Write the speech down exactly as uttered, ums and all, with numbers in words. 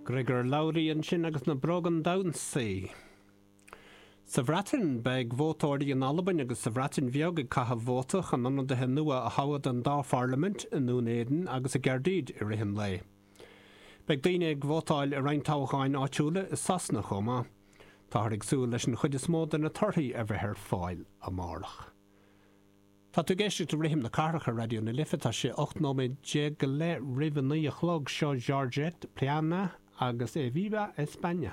Griogair Labhruidh ansin agus na Bróga Damhsa. Sa Bhreatain beidh vótóirí in Albain agus sa Bhreatain Bheag ag caitheamh vóta chun ionadaithe nua a thoghadh don dá pharlaimint i nDún Éideann agus i gCaerdydd i rith an lae. Beidh daoine ag vótáil i roinnt toghcháin áitiúla i Sasana chomh maith. Táthar ag súil leis an chuid is mó de na torthaí a bheith ar fáil amárach. Tá tú ag éisteacht le Rithim na Cathrach ar Raidió na Life tá sé ocht nóiméad déag go leith roimh a naoi a chlog seo Georgette Piana agus Eviva España.